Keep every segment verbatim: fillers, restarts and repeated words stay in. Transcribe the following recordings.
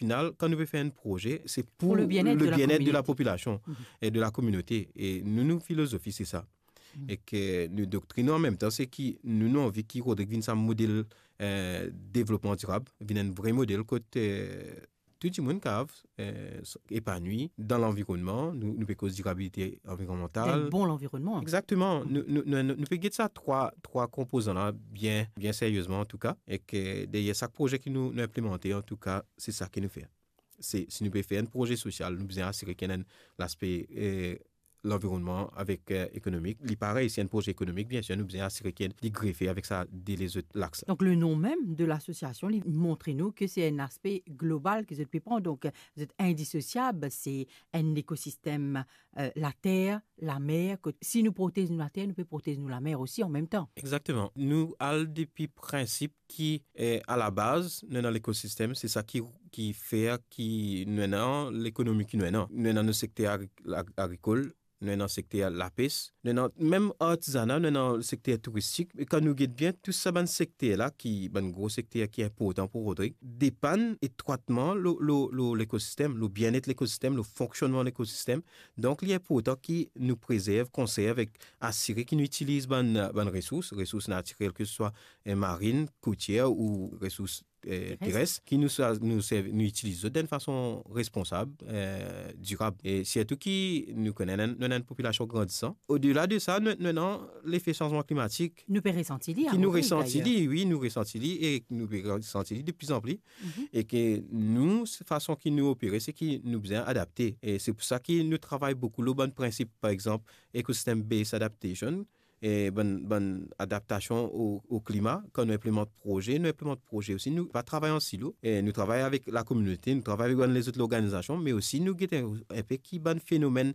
final, kan nou pe fer enn proze, se pou le bienet de la popilasion e de la kominote. E nou, nou filozofi, se sa. E ke nou doktrin, an mem tan, se ki nou, nou anvi ki Rodrig vinn sa model, eh, devlopman dirab, vinn enn vre model kot, eh, tou dimoun kav, eh, s-, epanwi dan lanvironnman. Nou, nou pe koz dirabilite anvironmantal. Enn bon lanvironnman. Exactement. Nou, nou, nou, nou, nou pe get sa trwa, trwa konpozan la bien, bien seriezman, antouka. E ke deryer sak proze ki nou, nou inplimante, antouka, se sa ki nou fer. Se, si nou pe fer enn proze sosial, nou bizin asire ki ena laspe, eh, lanvironnman avek, eh, ekonomik. Li parey, si enn proze ekonomik, biensir, nou bizin asire ki li grefe avek sa de lezot laks. Donk, le nom mem de lasosiasion, li montre nou ke se enn aspe global ke zot pe pran. Donk, zot indisosiab, se enn lekosistem, eh, later, lamer. Kot, si nou protez nou later, nou pe protez nou lamer osi an mem tan. Exactement. Nou al depi prinsip ki, eh, a la baz, nou ena lekosistem, se sa ki, ki fer ki nou ena lekonomi ki nou ena. Nou ena nou sekter agri-, ag-, agrikol, nou ena sekter lapes, nou ena mem artizana, nou ena sekter touristik. E kan nou get bien, tou sa bann sekter la, ki bann gro sekter ki inportan pou Rodrig, depann etrwatman lo, lo, lo lekosistem, lo bienet lekosistem, lo fonksionnman lekosistem. Donk, li inportan ki nou prezerv, konserv ek asire ki nou itiliz bann, bann resours, resours natirel, ke se swa, eh, marin, kotier ou resours, eh, teres, ki nou sa-, nou servi, nou itiliz zot dan enn fason responsab, eh, dirab. E sirtou ki nou kone nou, nou ena enn popilasion grandisan. Odela de sa, nou, nou ena lefe sanzman klimatik. Nou pe resanti li, ki nou resanti li, wi, nou resanti li e nou pe resanti li de pli an pli. E ke nou, se fason ki nou opere, se ki nou bizin adapte. E se pou sa ki nou travay boukou lor bann prinsip, par exanp, ecosystem based adaptation, e bann, bann adaptasion o, o klima. Kan nou inplimant proze, nou inplimant proze osi. Nou pa travay an silo. E nou travay avek lakominote, nou travay avek bann lezot lorganizasion, me osi nou gete enn, enn pe ki bann fenomenn,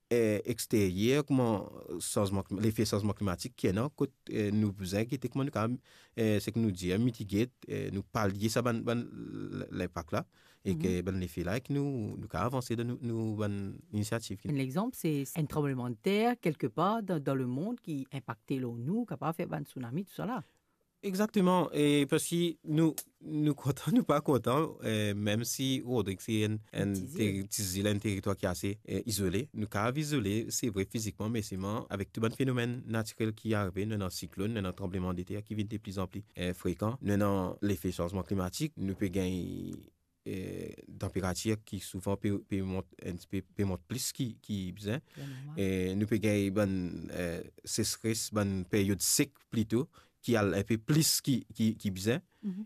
eh, exteryer, kouma sanzman klim-, lefe sanzman klimatik ki ena, kot, eh, nou bizin gete kouma nou kapav, eh, seki nou dir, mitige, eh, nou palye sa bann, bann l-, linpak la, e ke bann lefe la, e ke nou, nou kapav avanse dan nou, nou bann inisiativ. Enn lexanp, se enn tranblemann ter kelkepar dan, dan lemond ki inpakte lor nou, kapav fer bann tsunami, tousala. Exactement. E parski nou, nou kontan, nou pa kontan, eh, mem si Rodrig se enn, enn ti zil, enn teritwar ki ase, eh, izole. Nou kapav izole, se vre, fizikman, me selman avek tou bann fenomenn natirel ki arive, nou ena siklonn, nou ena tranblemann de ter ki vinn de pli an pli, eh, frekan, nou ena lefe sanzman klimatik, nou pe gagn, eh, tanperatir ki souvan pe, pe mont enn tipe, pe mont plis ki, ki bizin. E nou pe gagn bann, eh, sesres, bann peryod sek plito, ki al enn pe plis ki, ki, ki bizin,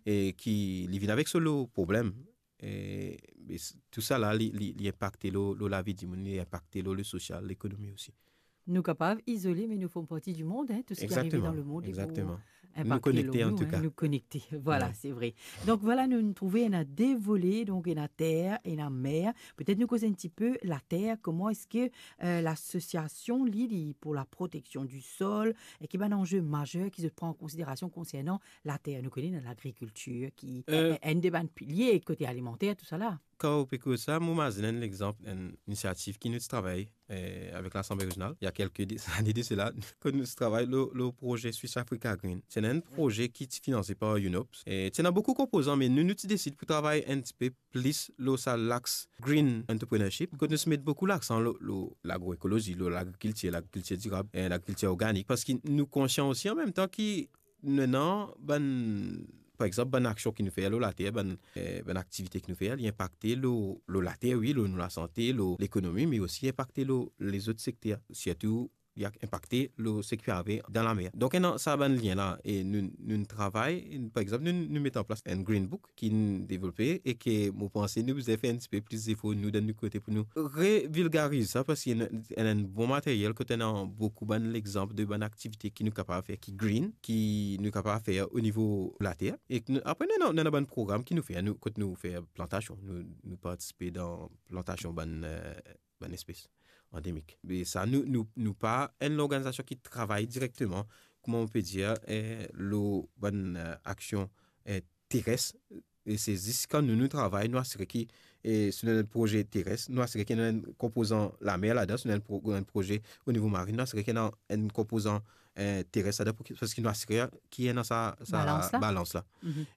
e ki li vinn avek so lo problem. E, e s-, tousala, li, li, li inpakte lo, lo lavi dimoun, li inpakte lo, lo sosial, lekonomi osi. Nou kapav izole, me nou fom parti di mond, hein, tou seki arive dan lemond, li pou inpakte nou. Exactement. Nou konekte, an tou ka. Nou konekte, vwala, se vre. Donk vwala, nou, nou trouve ena de vole, donk ena ter, ena mer. Petet nou koz enn tipe later, kouma eski, eh, lasosiasion, li, li pou la proteksion di sol, e ki bann anze mazer ki zot pran an konsiderasion konsernan later? Nou kone dan lagrikiltir ki, eh, enn de bann pilie kote alimanter, tousala. Kan ou pe koz sa, mo mazinn enn lexanp, enn inisiativ ki nou ti travay, eh, avek Lasanble Rezional, il y a quelques de-, années de cela, kan nou ti travay lo, lo proze Swiss Africa Green. Se enn proze ki ti finanse par UNOPS. E ti ena boukou konpozan, me nou, nou ti desid pou travay enn tipe plis lo sa laks green entrepreneurship, kot nou ti met boukou laksan lo, lo lagroekolozi, lo lagrikiltir, lagrikiltir dirab, eh, lagrikiltir organik, parski nou konsian osi an mem tan ki nou ena bann, par exanp, bann aksion ki nou fer lo later, bann, eh, bann aktivite ki nou fer, li inpakte lo, lo later, wi, lo nou lasante, lo lekonomi, me osi inpakte lo lezot sekter, sirtou li inpakte lo seki pe arive dan lamer. Donk, ena sa bann lien la, e nou, nou travay, par exanp, nou, nou met an plas enn Green Book, ki nou devlope e ke mo panse nou bizin fer enn tipe plis zefor nou dan nou kote pou nou revulgariz sa, parski ena, ena enn bon materyel kot ena boukou bann lexanp de bann aktivite ki nou kapav fer ki green, ki nou kapav fer o nivo later. E nou, apre nou, nou ena bann program ki nou fer, nou, kot nou fer plantasion, nou, nou partisipe dan plantasion bann, eh, bann espes andemik. Me sa, nou, nou, nou pa enn lorganizasion ki travay direkteman, kouma on pe dir, eh, lo bann, eh, aksion, eh, teres. E se zis kan nou, nou travay, nou asire ki, eh, si nou ena enn proze teres, nou asire ki ena enn konpozan lamer ladan, si nou ena enn pro-, enn proze o nivo marin, nou asire ki ena enn konpozan, eh, teres ladan, pou ki, parski nou asire ki ena sa, sa balans la. Balans la.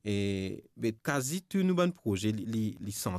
E, be, kazi tou nou bann proze, li, li, li sant